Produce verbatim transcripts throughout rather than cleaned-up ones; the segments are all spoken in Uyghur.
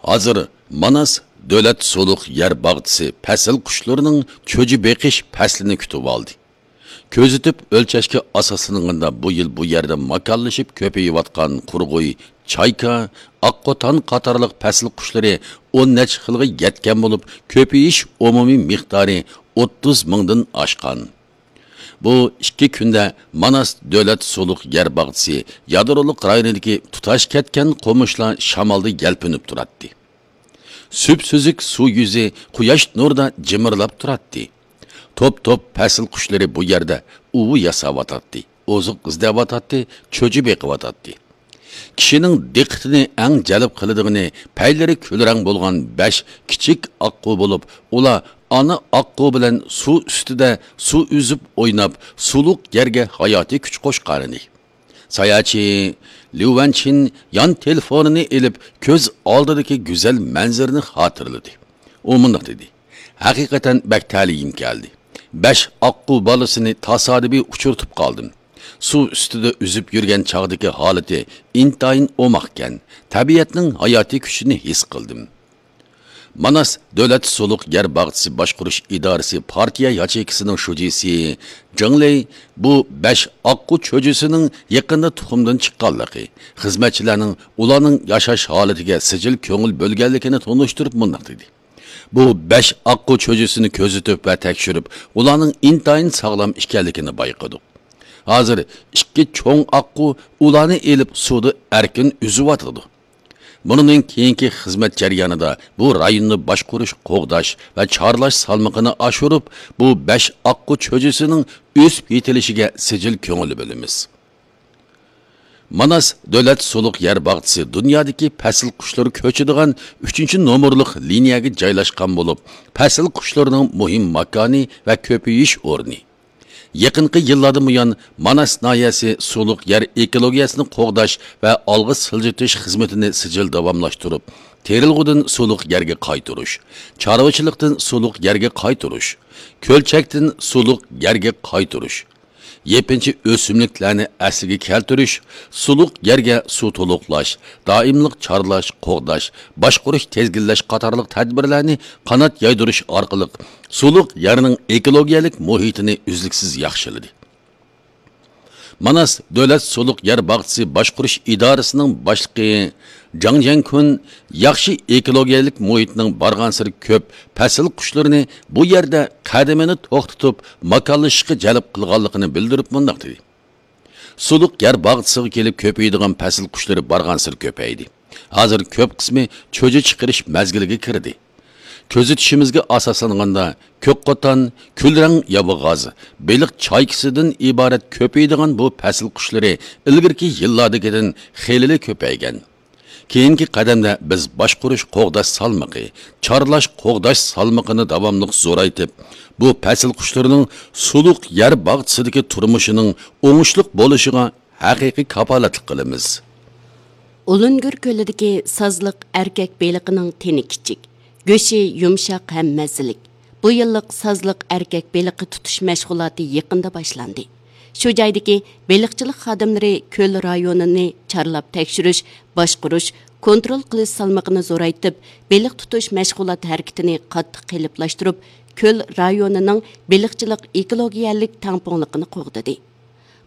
ھازىر ماناس دۆلەت سۇلۇق يەر باغچىسى پەسىل قۇشلىرىنىڭ چۆجە بېقىش پەسلىنى كۈتۈۋالدى. كۆزىتىپ ئۆلچەشكە ئاساسلانغاندا، بۇ يىل بۇ يەردە ماكانلىشىپ كۆپىيىۋاتقان قۇرغۇي، چايكا، ئاققۇتان قاتارلىق پەسىل قۇشلىرى ئون نەچچە خىلغا يەتكەن بولۇپ، كۆپىيىش ئومۇمىي مىقدارى ئوتتۇز مىڭدىن ئاشقان. بۇ ئىككى كۈندە ماناس دۆلەت سۇلۇق يەر باغچىسى يادرولۇق رايونىدىكى تۇتاش كەتكەن قومۇشلار شامالدا يەلپۈنۈپ تۇراتتى. سۈپسۈزۈك سۇ يۈزى قۇياش نۇرىدا جىمىرلاپ تۇراتتى. توپ-توپ پەسىل قۇشلىرى بۇ يەردە ئۇۋا ياساۋاتاتتى، ئوزۇق ئىزدەۋاتاتتى، چۆچە بېقىۋاتاتتى. كىشىنىڭ دىققىتىنى ئەڭ جەلپ قىلىدىغىنى پەيلىرى كۈلرەڭ بولغان بەش كىچىك ئاققۇ بولۇپ، ئۇلار ئانا ئاققۇ بىلەن سۇ ئۈستىدە سۇ ئۈزۈپ ئويناپ، سۇلۇق يەرگە ھاياتىي كۈچ قوشقانىدى. ساياھەتچى ليۇ ۋەنچىن يان تېلېفونىنى ئېلىپ، كۆز ئالدىدىكى گۈزەل مەنزىرىنى خاتىرىلىدى. ئۇ مۇنداق دېدى: «ھەقىقەتەن بەك تەلىيىم كەلدى. بەش ئاققۇ بالىسىنى تاسادىپىي ئۇچرىتىپ قالدىم. سۇ ئۈستىدە ئۈزۈپ يۈرگەن چاغدىكى ھالىتى ئىنتايىن ئوماقكەن. تەبىئەتنىڭ ھاياتىي كۈچىنى ھېس قىلدىم.» ماناس دۆلەت سۇلۇق يەر باغچىسى باشقۇرۇش ئىدارىسى پارتىيە ياچېيكىسىنىڭ شۇجىسى جېڭ لېي بۇ بەش ئاققۇ چۆجىسىنىڭ يېقىندا تۇخۇمدىن چىققانلىقى، خىزمەتچىلەرنىڭ ئۇلارنىڭ ياشاش ھالىتىگە سىجىل كۆڭۈل بۆلگەنلىكىنى تونۇشتۇرۇپ مۇنداق دېدى: «بۇ بەش ئاققۇ چۆجىسىنى كۆزىتىپ ۋە تەكشۈرۈپ، ئۇلارنىڭ ئىنتايىن ساغلام ئىكەنلىكىنى بايقىدۇق. ھازىر ئىككى چوڭ ئاققۇ ئۇلارنى ئېلىپ سۇدا ئەركىن ئۈزۈۋاتىدۇ. بۇنىڭدىن كېيىنكى خىزمەت جەريانىدا بۇ رايوننى باشقۇرۇش، قوغداش ۋە چارلاش سالمىقىنى ئاشۇرۇپ، بۇ بەش ئاققۇ چۆجىسىنىڭ ئۆسۈپ يېتىلىشىگە سىجىل كۆڭۈل بۆلىمىز.» ماناس دۆلەت سۇلۇق يەر باغچىسى دۇنيادىكى پەسىل قۇشلىرى كۆچىدىغان ئۈچىنچى نومۇرلۇق لىنىيەگە جايلاشقان بولۇپ، پەسىل قۇشلىرىنىڭ مۇھىم ماكانى ۋە كۆپىيىش ئورنى. يېقىنقى يىللاردىن بۇيان، ماناس ناھىيەسى سۇلۇق يەر ئېكولوگىيەسىنى قوغداش ۋە ئالغا سىلجىتىش خىزمىتىنى سىجىل داۋاملاشتۇرۇپ، تېرىلغۇدىن سۇلۇق يەرگە قايتۇرۇش، چارۋىچىلىقتىن سۇلۇق يەرگە قايتۇرۇش، كۆلچەكتىن سۇلۇق يەرگە قايتۇرۇش، يېپىنچا ئۆسۈملۈكلەرنى ئەسلىگە كەلتۈرۈش، سۇلۇق يەرگە سۇ تولۇقلاش، دائىملىق چارلاش، قوغداش، باشقۇرۇش، تىزگىنلەش قاتارلىق تەدبىرلەرنى قانات يايدۇرۇش ئارقىلىق سۇلۇق يەرنىڭ ئېكولوگىيەلىك مۇھىتىنى ئۈزلۈكسىز ياخشىلىدى. ماناس دۆلەت سۇلۇق يەر باغچىسى باشقۇرۇش ئىدارىسىنىڭ باشلىقى جاڭ جيەنكۈن ياخشى ئېكولوگىيەلىك مۇھىتنىڭ بارغانسېرى كۆپ پەسىل قۇشلىرىنى بۇ يەردە قەدىمىنى توختىتىپ ماكانلىشىشقا جەلپ قىلغانلىقىنى بىلدۈرۈپ مۇنداق دېدى: «سۇلۇق يەر باغچىسىغا كېلىپ كۆپىيىدىغان پەسىل قۇشلىرى بارغانسېرى كۆپەيدى. ھازىر كۆپ قىسمى چۆجە چىقىرىش مەزگىلىگە كىردى. كۆزىتىشىمىزگە ئاساسلانغاندا، كۆكقوتان، كۈلرەڭ ياۋىغاز، بېلىق چايكىسىدىن ئىبارەت كۆپىيىدىغان بۇ پەسىل قۇشلىرى ئىلگىرىكى يىللاردىكىدىن خېلىلا كۆپەيگەن. كېيىنكى قەدەمدە بىز باشقۇرۇش قوغداش سالمىقى، چارلاش قوغداش سالمىقىنى داۋاملىق زورايتىپ، بۇ پەسىل قۇشلىرىنىڭ سۇلۇق يەر باغچىسىدىكى تۇرمۇشىنىڭ ئوڭۇشلۇق بولۇشىغا ھەقىقىي كاپالەتلىك قىلىمىز.» ئۇلۇنگۈر كۆلىدىكى سازلىق ئەركەك بېلىقىنىڭ تېنى كىچىك، گۆشى يۇمشاق ھەم مەززىلىك. بۇ يىللىق سازلىق ئەركەك بېلىقى تۇتۇش مەشغۇلاتى يېقىندا باشلاندى. شۇ جايدىكى بېلىقچىلىق خادىملىرى كۆل رايونىنى چارلاپ تەكشۈرۈش، باشقۇرۇش، كونترول قىلىش سالمىقىنى زورايتىپ، بېلىق تۇتۇش مەشغۇلات ھەرىكىتىنى قاتتىق قېلىپلاشتۇرۇپ، كۆل رايونىنىڭ بېلىقچىلىق ئېكولوگىيەلىك تەڭپۇڭلۇقىنى قوغدىدى.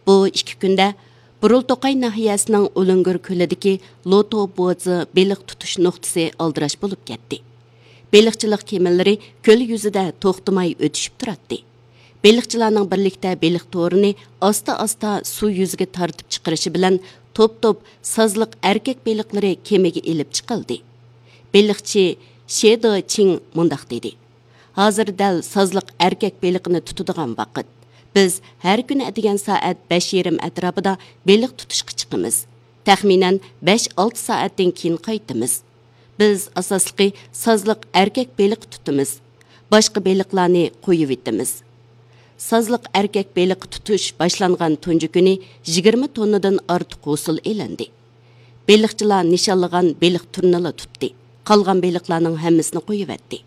بۇ ئىككى كۈندە بۇرۇلتوقاي ناھىيەسىنىڭ ئۇلۇنگۈر كۆلىدىكى لوتو بوزى بېلىق تۇتۇش نۇقتىسى ئالدىراش بولۇپ كەتتى. بېلىقچىلىق كېمىلىرى كۆل يۈزىدە توختىماي ئۆتۈشۈپ تۇراتتى. بېلىقچىلارنىڭ بىرلىكتە بېلىق تورىنى ئاستا-ئاستا سۇ يۈزىگە تارتىپ چىقىرىشى بىلەن توپ-توپ سازلىق ئەركەك بېلىقلىرى كېمىگە ئېلىپ چىقىلدى. بېلىقچى شې دېچىڭ مۇنداق دېدى: «ھازىر دەل سازلىق ئەركەك بېلىقىنى تۇتىدىغان ۋاقىت. بىز ھەر كۈنى ئەتىگەن سائەت بەش يېرىم ئەتراپىدا بېلىق تۇتۇشقا چىقىمىز. تەخمىنەن بەش-ئالتە سائەتتىن كېيىن قايتىمىز. بىز ئاساسلىقى سازلىق ئەركەك بېلىق تۇتىمىز. باشقا بېلىقلارنى قويۇۋېتىمىز.» سازلىق ئەركەك بېلىق تۇتۇش باشلانغان تۇنجى كۈنى يىگىرمە توننىدىن ئارتۇق ھوسۇل ئېلىندى. بېلىقچىلار نىشانلىغان بېلىق تۈرىنىلا تۇتتى. قالغان بېلىقلارنىڭ ھەممىسىنى قويۇۋەتتى.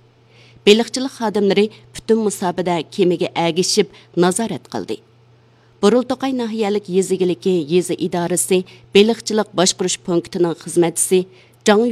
بېلىقچىلىق خادىملىرى پۈتۈن مۇساپىدە كېمىگە ئەگىشىپ نازارەت قىلدى. بۇرۇلتوقاي ناھىيەلىك يېزا ئىگىلىكى يېزا ئىدارىسى بېلىقچىلىق باشقۇرۇش پونكىتىنىڭ خىزمەتچىسى جاڭ